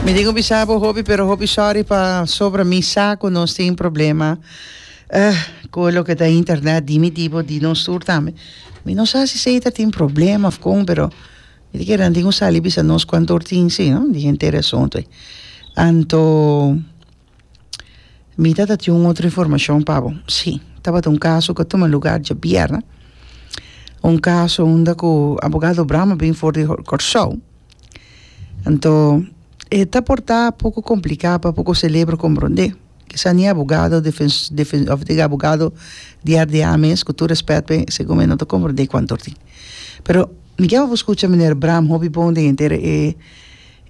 Mi tin ku bisa bo hopi pero hopi sorry pa sobra mi sa ku nos tin problema ku loke ta internet di mi tipo di nos tur tambe. Mi no sa si Seita tin problema of kon pero mi ta kere nan tin ku sali bisa nos kuantu or tin si no di henter e asuntu ei. Anto Mi ta ta tin un otro informacion pa bo. Si, tabata un caso cu a tuma lugar djabièrnè, un caso unda cu abogado Bram a bin for di Kòrsou. Anto e ta por ta poco complica pa poco celebro comprende. Kisa ni abogado defens defen of diga abogado di RDA mes, cu tur respet p'e, segun mi no ta comprende cuanto tin. Pero mi kier pa bo scucha meneer Bram hopi bon den henter e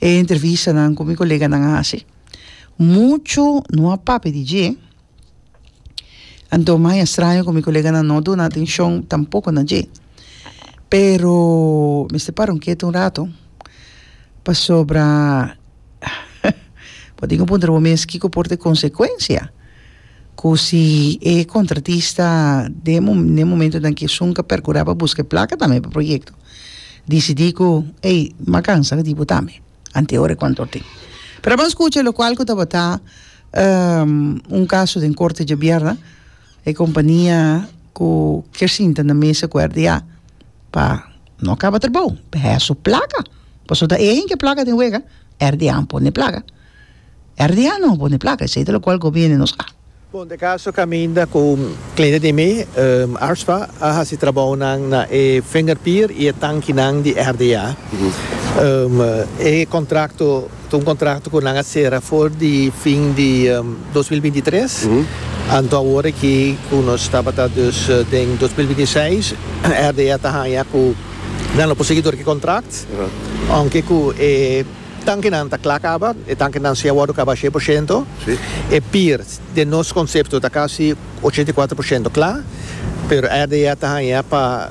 e entrevistanan cu mi coleganan a haci. Muchu no a papia di dje, anto mai a straño ku mi koleganan no duna atenshon tampoko na dje. Pero mester para un ketu un rato, pasobra bo tin ku puntra bo mes kiko por ta e konsekuensia ku si e kontratista den e momentonan ku esun ka perkurá pa buska e plaka tambe pa e proyekto disidí ku ey m'a kansa di bo tambe. Anteora e cuanto tin. Pero ban scucha locual cu tabata un caso den corte djabièrnè, e compania cu kier sinta na mesa cu RDA pa no caba trabou, pa haya su placa, pasobra ta e hende ke placa den wega, RDA no pone placa, RDA no pone placa, esey ta locual gobierno nos a. Bon, de caso caminda cu cliente di mi, Arspa, a haci trabounan na e vingerpier y e tankinan di RDA. E contracto ta un contracto cu nan a cera for di fin di 2023, anto awor aki cu nos tabata dus den 2026, RDA ta haya cu nan lo por sigui dor ki contract, aunke cu e. Tankenan ta kla kaba, e tankenan si a wòrdu kaba shen por shento. E pier den nos konsepto ta kasi 84 por shento kla, pero RDA ta haña pa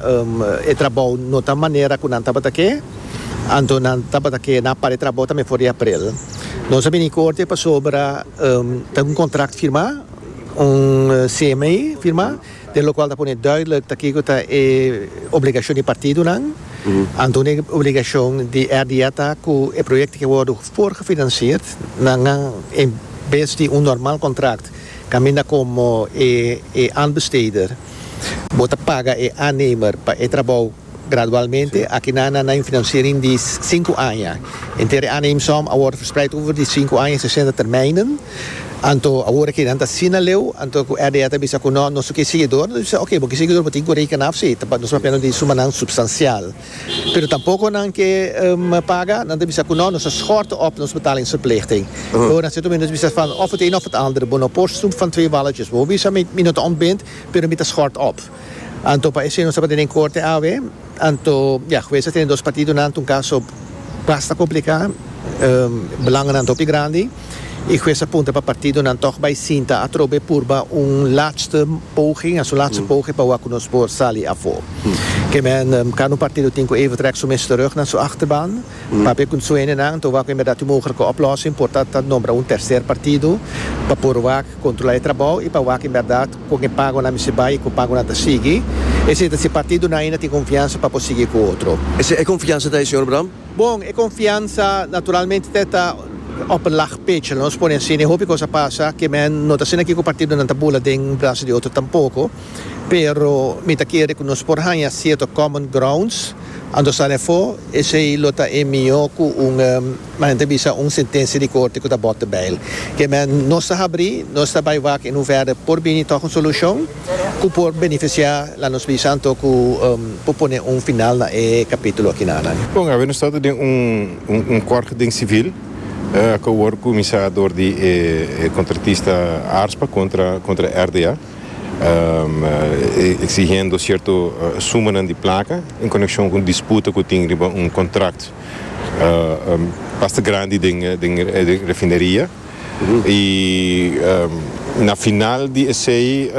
e trabou no ta manera ku nan tabata ke, anto nan tabata ke nan para e trabou tambe for di aprel. Nos a bini korte pasobra ta un kontrakt firmá, un CMA firmá. Den lokual ta pone duidelijk ta kiko ta e obligashon di partidonan. Anto un e obligashon di RDA ta ku e proyekto ke wòrdu voorgefinancierd nan a en bes di un normal kontrakt kaminda komo e e aanbesteder bo ta paga e aannemer pa e trabou Gradualmente, aki nan a na un financiering di sinku aña. Henter e aanneemsom a wòrdu verspreid over di sinku aña, sesenta termijnen. Anto awor aki nan ta asina leu, anto ku RDA ta bisa ku no, nos no ke sigui dor. Nos bisa, oke, bo ke sigui dor, bo tin ku reken af si, nos papia no di sumanan supstansial. Pero tampoko nan ke paga, nan ta bisa ku no, nos ta schort op nos betalingsverplichting. Ora na sierto momento nos bisa van of het een of het ander, bo no por snoep van twee walletjes. Bo bisa mi no ta ontbind, pero mi ta schort op. Anto pa esei nos tabata den korte awe. Anto ya, hues a tene dos partidonan, ta un kaso basta kompliká, belangennan ta hopi grandi i hues a puntra pa partidonan tòg bai sinta atrobe purba un laatste poging, a su laatste poging pa wak ku nos por sali afó. Ke men kada un partido tin ku even trèk su mes terug na su achterban, papia ku su hendenan, anto wak ku en bèrdat tin mogelike oplossing, por ta ta nombra un terser partido pa por wak Kontrolá e trabou i pa wak en bèrdat kon e pagonan mester bai i kon pagonan ta sigui. Esei ta si partidonan ainda tin konfiansa pa por sigui ku otro. Esei e konfiansa ta ei, señor Bram? Bon, e konfiansa naturalmente ta ta op een laag pitje, laat nos pone asina. E hopi kos a pasa ke men no ta asina aki ku partidonan ta bula den brasa di otro tampoko. Pero mi ta kere ku nos por haña sierto common grounds, anto sali afó, esei lo ta e mihó ku un. Ma nan ta bisa un sentensia di korte ku ta bòt de bijl. Ke men nos ta habrí, nos ta bai wak in hoeverre por bini tòg un solushon ku por benefisiá la nos bisa anto ku por pone un final na e kapítulo akinanan. Bon, awe nos ta den un un kort den sivil ku awor kuminsá dor di e kontratista ARSPA kontra kontra RDA eksigiendo sierto sumanan di plaka en konekshon ku un disputa ku tin riba un kontrakt. Basta grandi den den refineria y na final di esey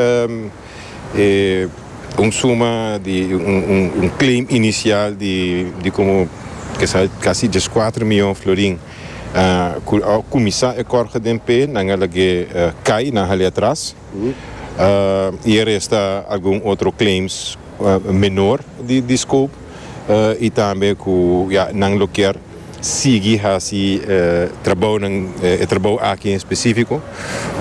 e un suma di un claim inicial di di como kesa casi diescuatro miyon florin cu a cuminsa e corge den pe nan a lag'e cay nan a hali atras y a resta algun otro claims menor di scope y tambe cu ya nan lo kier. sigui hasi trabounan, e trabou aki en específico,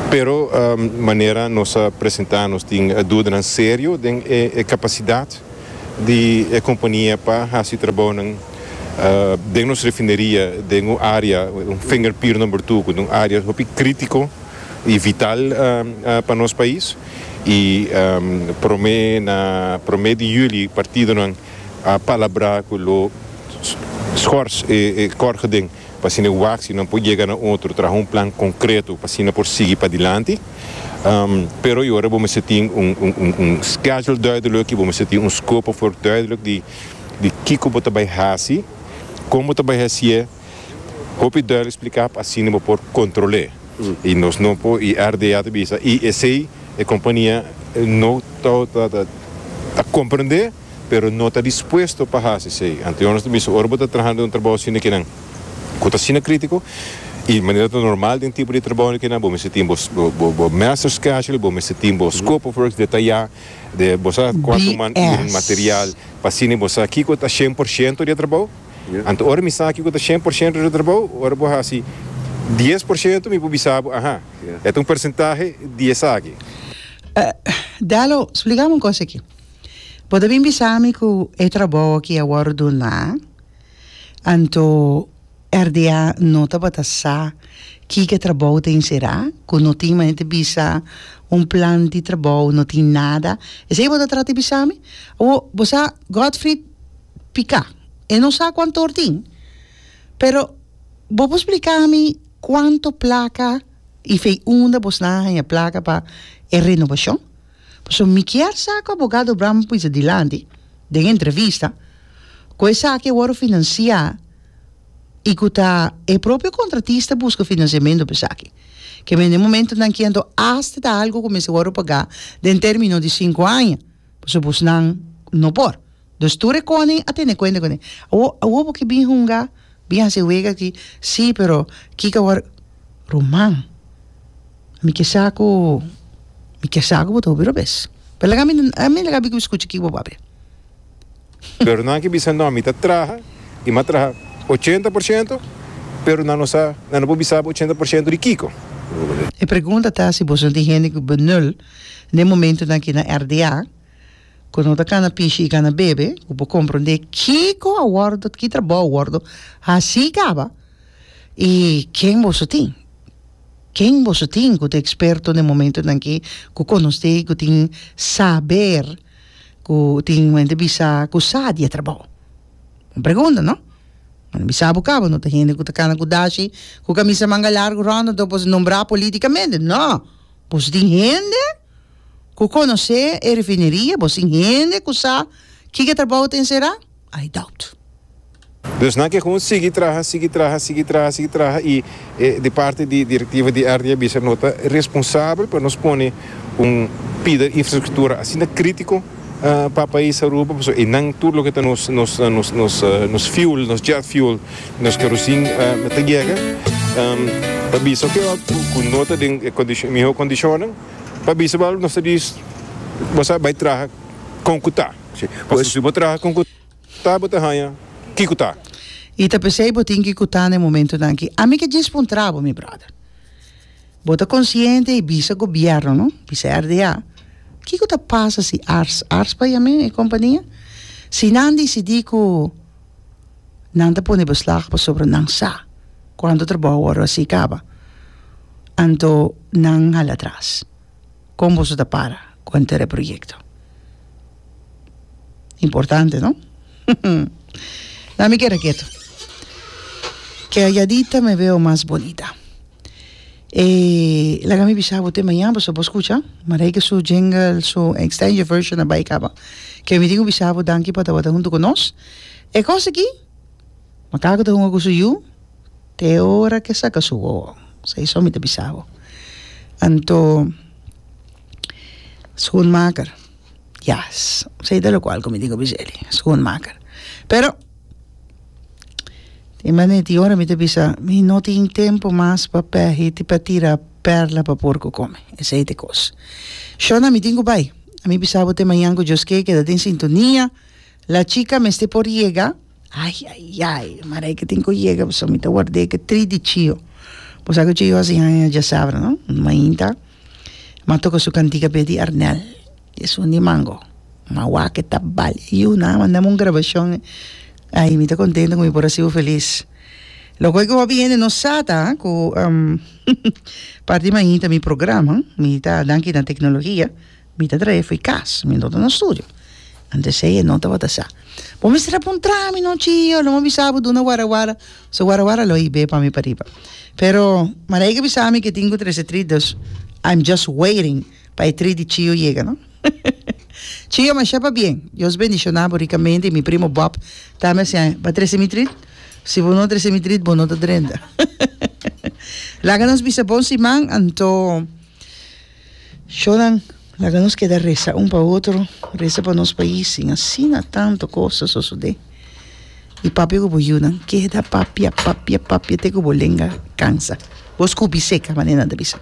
pero manera nos a presenta nos tin dudanan serio den e capacidad di e compania pa hasi trabounan den nos refineria den un area, un finger pier number two, cu ta un area hopi critico y vital pa nos pais y prome na prome di juli partidonan a palabrá ku lo schors e kòrgeding pa asina wak si nan por yega na otro, traha un plan konkreto pa asina por sigui padilanti. Pero e ora bo mester tin un un schedule duidelijk i bo mester tin un scope of work duidelijk di di kiko bo ta bai hasi, kon bo ta bai hasié, hopi duidelijk spliká pa asina bo por kontrol'é. I nos no por, i RDA ta bisa, i esei e kompania no ta ta komprendé. pero no ta dispuesto pa hasi esei. Anto nos ta bisa ora bo ta trahando un trabou asina kinan ku ta asina kritiko i manera ta normal den tipo di trabou kinan bo mester tin bo bo master schedule, bo mester tin bo scope of works detayá de bo sa kuantu man BS. material pa asina bo sa kiko ta 100% di e trabou. Anto ora mi sa kiko ta 100% di e trabou ora bo hasi 10% mi por bisa bo aha e ta un persentahe di esaki. Dalo, splika mi un kos aki. Bo ta bin bisa mi ku e trabou aki a wòrdu duná, anto RDA no tabata sa kiko e trabou ta enserá, ku no tin manera di bisa un plan di trabou, no tin nada. Esei bo ta trata di bisa mi? Awor, bo sa Godfried piká, e no sa kuantu or tin, pero bo por splika mi kuantu plaka i fei unda bosnan a haña plaka pa e renobashon? Pasobra mi kier sa ku abogado Bram pisa dilanti den entrevista ku esaki a wòrdu finansiá i ku ta e propio kontratista buska finansiamentu pa esaki. Ke men den momentunan ki anto asta ta algu ku mester wòrdu pagá den término di sinku aña, pasobra bosnan no por. Dus tur e koning a tene kuenta kuné. Awor, awor bo ke bin hunga, bin hasi wega aki, sí, pero kiko awor? Ruman, mi ke sa ku, mi ke sa ku bo ta hopi robes. Pero laga mi, ami laga mi skucha kiko bo papia. Pero nan ke bisa no, mi ta traha i mi a traha 80%, pero nan no sa, nan no por bisa bo 80% di kiko. E pregunta ta si boso no tin hende ku benul den momentunan aki na RDA. Ku no ta kana pishi i kana bebe, ku por komprondé kiko a wòrdu, ki trabou a wòrdu hasí kaba i ken boso tin. Ken boso tin ku ta eksperto den momentunan aki, ku konosé, ku tin saber, ku tin mente bisa ku sa di e trabou. Un pregunta, no? Nan bisa bo kaba, no ta hende ku ta kana ku dashi, ku kamisa manga largu rònt anto bo nombrá politikamente. No! Boso tin hende. Ku konosé e refineria, bo sin hende ku sa kiko e trabou ta enserá? I doubt. Dus nan ke gewoon sigui traha, sigui traha, sigui traha, sigui traha i e di parti di direktiva di RD a bisa no ta responsabel pa nos pone un pida infrastruktura asina kritiko pa pais Aruba pasobra einan tur loke ta nos nos nos nos nos fuel, nos jet fuel, nos kerosin ta yega pa bisa oke ku no ta den e miho kondishonnan. Pa bisa bo nos ta dis bo sa bai traha kon ku ta. Pasobra si bo traha kon ku ta bo ta haña ki ku ta. I ta p'esei bo tin ki ku ta na e momentunan aki. Ami ke djis puntra bo mi brother. Bo ta konsiente i bisa gobièrnu no, bisa RDA, kiko ta pasa si ars, ars pa yam'é e kompania, si nan disidí ku nan ta pone beslag pasobra nan sa kuantu trabou a wòrdu hasi kaba. Anto nan hala atras. Kon boso ta para ku henter e proyekto? Importante, no? Na mi keda ketu. Calladita me veo mas bonita. E laga mi bisa bo te mañana pasobra bo skucha Marijke su jingle, su extended version a bai kaba. Ke mi tin ku bisa bo danki pa tabata huntu ku nos. E kos aki, Makaku ta hunga ku su yu. Te ora ke saka su wowo. Esei mi ta bisa bo. Anto schoenmaker, yes, esei ta lokual ku mi tin ku bisa eli, schoenmaker. Pero tin manera tin ora mi ta bisa mi no tin tempu mas pa pèhi pa tira pèrla pa porko kome. Esei ta e kos. Shona mi tin ku bai. A mi bisa bo te mañan ku Dios ke keda den sintonia. La chica mester por yega. Ai ai ai, Marijke tin ku yega pasobra mi ta ward'é ku tri di Chio. Bo sa ku Chio hasi haña djasabra no? Mainta m'a toka su kantika p'e di Arnel, esun di mango. M'a wak e ta bal. Yu nan a mandami un grabashon. Ai mi ta kontento ku mi por a hasi bo felis. Loke ku hopi hende no sa ta ku parti mainta mi programa mi ta danki na teknologia. Mi ta trae fo'i kas, mi no ta na studio. Anto esei e no tabata sa. Bo mester a puntra mi no Chio, lo mi bisa bo duna warawara. So warawara lo hib'é pa mi pariba. Pero Marijke a bisa mi ke tin ku trese trit, dus I'm just waiting pa e trit di Chio yega no. Chio masha pabien, Dios bendiciona bo ricamente y mi primo Bob tambe a siña, bo a trese mi trit? Si bo no trese mi trit bo no ta drenta. Laga nos bisa bon siman anto. Shownan, laga nos keda resa un pa otro, resa pa nos pais sin asina tanto kos ta sosodé. I papia ku bo yunan, keda papia, papia, papia te ku bo lenga kansa. Bo skupi seka, manera nan ta bisa.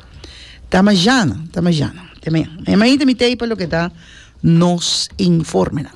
Ta majana, ta majana. Te mañana. Mañana mainta mi tei pa loke ta nos informenan.